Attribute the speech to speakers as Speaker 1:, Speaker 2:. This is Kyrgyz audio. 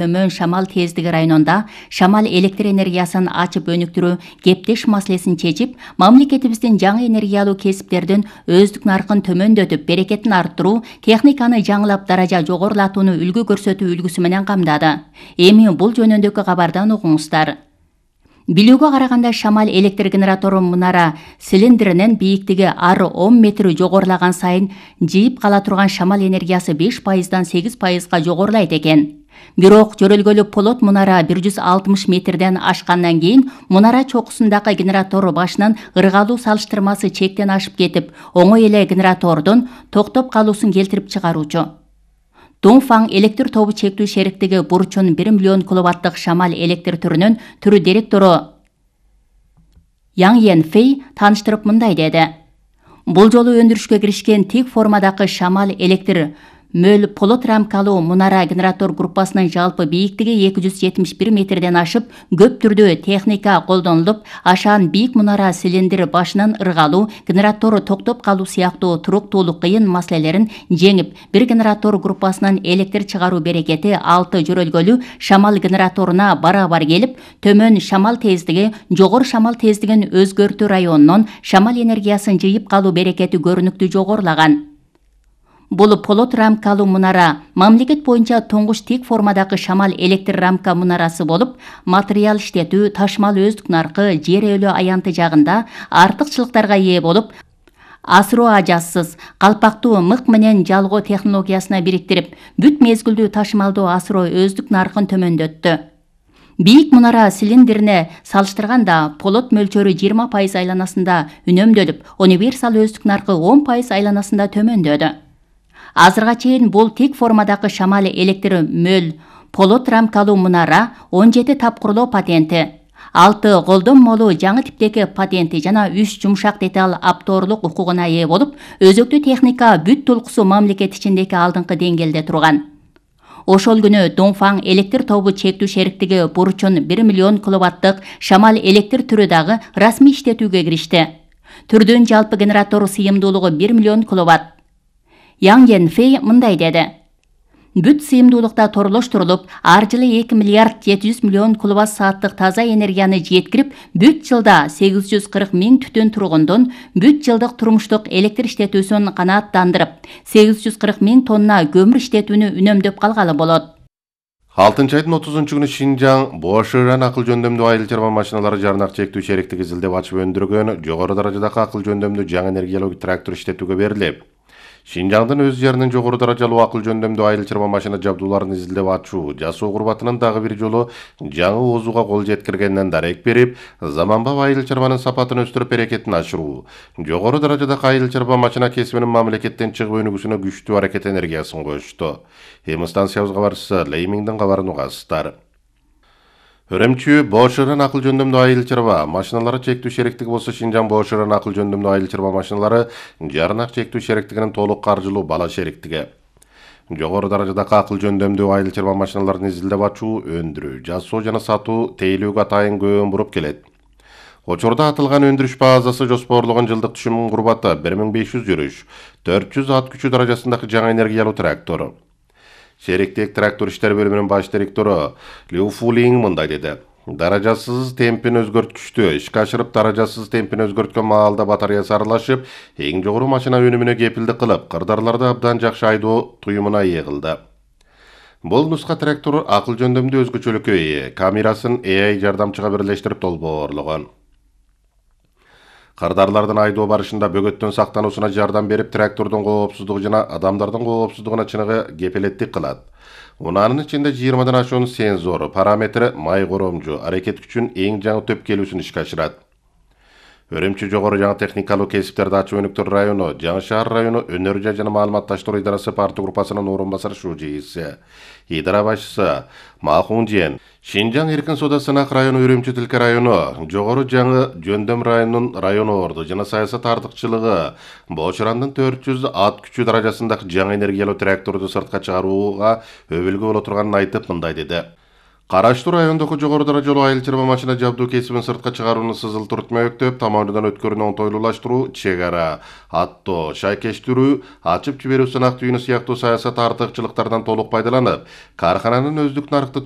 Speaker 1: Төмөн шамал тездиги районунда шамал электр энергиясын ачып өнүктүрүү кептеш маселесин чечип, мамлекетибиздин жаңы энергиялуу кесиптердин өздүк наркын төмөндөтүп, берекетин арттыруу, техниканы жаңылап даража жогорулатууну үлгү көрсөтүү үлгүсү менен камдады. Эми бул жөнүндөгү кабардан угуңуздар. Билүүгө караганда шамал электр генератору мунара цилиндринин бийиктиги ар 10 метр жогорулаган сайын жыйып кала турган шамал энергиясы 5%дан 8%га жогорулайт экен. Бирок жөрөлгөлү полот мунара 160 метрден ашкандан кийин мунара чокусундагы генератор башынын ыргалуу салыштырмасы чектен ашып кетип, оңой эле генератордун токтоп калуусун келтирип чыгаруучу. Дongfang электр тобу чектүү шериктиги бурчун 1 миллион киловаттык шамал электр түрүнүн түрү директору Yang Yanfei тааныштырып мындай деди. Бул жолу өндүрүшкө киришкен тик формадагы шамал электр мөл полот рамкалуу мунара генератор группасынын жалпы бийиктиги 271 метрден ашып, көп түрдүү техника колдонулуп, ашаан бийик мунара цилиндр башынын ыргалуу, генератору токтоп калуу сыяктуу туруктуулук кыйын маселелерин жеңип, бир генератор группасынын электр чыгаруу берекети 6 жөрөлгөлүү шамал генераторуна барабар келип, төмөн шамал тездиги, жогору шамал тездигин өзгөртүү районунун шамал энергиясын жыйып калуу берекети көрүнүктүү жогорулаган. Бул полот рамкалуу мунара мамлекет боюнча тоңуш тик формадагы шамал электр рамка мунарасы болуп, материал иштетүү, ташмал өздүк наркы, жер өлө аянты жагында артыкчылыктарга ээ болуп, асыруу ажассыз, калпактуу мык менен жалгоо технологиясына бириктирип, бүт мезгилдүү ташмалдуу асыроо өздүк наркын төмөндөттү. Бийик мунара цилиндрине салыштырганда полот мөлчөрү 20% айланасында үнөмдөлүп, универсал өздүк наркы 10% айланасында төмөндөдү. Азырга чейин бул тик формадагы шамал электр мөл полот рамкалуу мунара 17 тапкырлоо патенти, 6 колдонмолуу жаңы типтеги патенти жана 3 жумшак деталь апторлук укугуна ээ болуп, өзөктүү техника бүт толкусу мамлекет ичиндеги алдыңкы деңгээлде турган. Ошол күнү Dongfang электр тобу чектүү шериктиги бурчун 1 миллион киловаттык шамал электр түрү дагы расмий иштетүүгө киришти. Түрдүн жалпы генератору сыйымдуулугу 1 миллион киловатт. Yang Yanfei мындай деди. Бүт сыйымдуулукта торлоштурулуп, ар жылы 2 миллиард 700 миллион киловатт сааттык таза энергияны жеткирип, бүт жылда 840 миң түтүн тургундун бүт жылдык турмуштук электр иштетүүсүн канааттандырып, 840 миң тонна көмүр иштетүүнү үнөмдөп калгалы болот.
Speaker 2: 6-айдын 30-күнү Шинжаң Боширан акыл жөндөмдүү айыл чарба машиналары жарнак чектүү шериктиги изилдеп ачып өндүргөн жогору даражадагы акыл жөндөмдүү жаңы энергиялуу трактор иштетүүгө берилип, Шинжаңдын өз жеринин жогору даражалуу акыл жөндөмдүү айыл чарба машина жабдууларын изилдеп ачуу, жасоо курбатынын дагы бир жолу жаңы оозууга кол жеткиргенинен дарек берип, заманбап айыл чарбанын сапатын өстүрүп берекетин ашыруу, жогору даражадагы айыл чарба машина кесибинин мамлекеттен чыгып өнүгүүсүнө күчтүү аракет энергиясын коюшту. Эми станциябыз кабарчысы Леймиңдин кабарын угасыздар. Өрөмчү Боширан акыл жөндөмдүү айыл чарба машиналары чектүү шериктиги болсо Шинжаң Боширан акыл жөндөмдүү айыл чарба машиналары жарнак чектүү шериктигинин толук каржылуу бала шериктиги. Жогору даражадагы акыл жөндөмдүү айыл чарба машиналарын изилдеп ачуу, өндүрүү, жасоо жана сатуу тейлүүгө атайын көбүн буруп келет. Учурда атылган өндүрүш базасы жоспорлогон жылдык түшүм курбаты 1500 жүрүш, 400 ат күчү даражасындагы жаңы энергиялуу трактор. Шериктик трактор иштер бөлүмүнүн баш директору Liu Fulin мындай деди. Даражасыз темпин өзгөрткүчтү ишке ашырып, даражасыз темпин өзгөрткөн маалда батареясы аралашып, эң жогору машина өнүмүнө кепилдик кылып, кырдаарларды абдан жакшы айдоо туюмуна ээ кылды. Бул нуска трактор акыл жөндөмдүү өзгөчөлүккө ээ, камерасын AI жардамчыга бирлештирип долбоорлогон. Кырдаарлардын айдоо барышында бөгөттөн сактануусуна жардам берип, трактордун коопсуздугу жана адамдардын коопсуздугуна чыныгы кепилеттик кылат. Унаанын ичинде 20дан ашуун сензор, параметри май коромжу, аракет күчүнүн эң жаңы төп келүүсүн ишке ашырат. Өрөмчү жогору жаңы техникалуу кесиптерди ачып өнүктүрүү району, Жаңы шаар району өнөр жай жана маалыматташтыруу идарасы парты группасынын орун басары шужийси, идара башчысы Махунжен, Шинжаң эркин соода сынак району, Өрөмчү Тилке району, жогору жаңы жөндөм районунун район орду жана саясат артыкчылыгы Боширандын 400 ат күчү даражасындагы жаңы энергиялуу тракторду сыртка чыгарууга өбүлгө боло турганын айтып мындай деди. Караштуу райондогу жогору даражалуу айыл чарба машина жабдуу кесибин сыртка чыгарууну сызылтырып өктөп, тамамынан өткөрүүнү оңтойлуулаштыруу, чек ара, аттоо, шайкештирүү, ачып жиберүү сынак түйүнү сыяктуу саясат артыкчылыктардан толук пайдаланып, кархананын өздүк нарыкты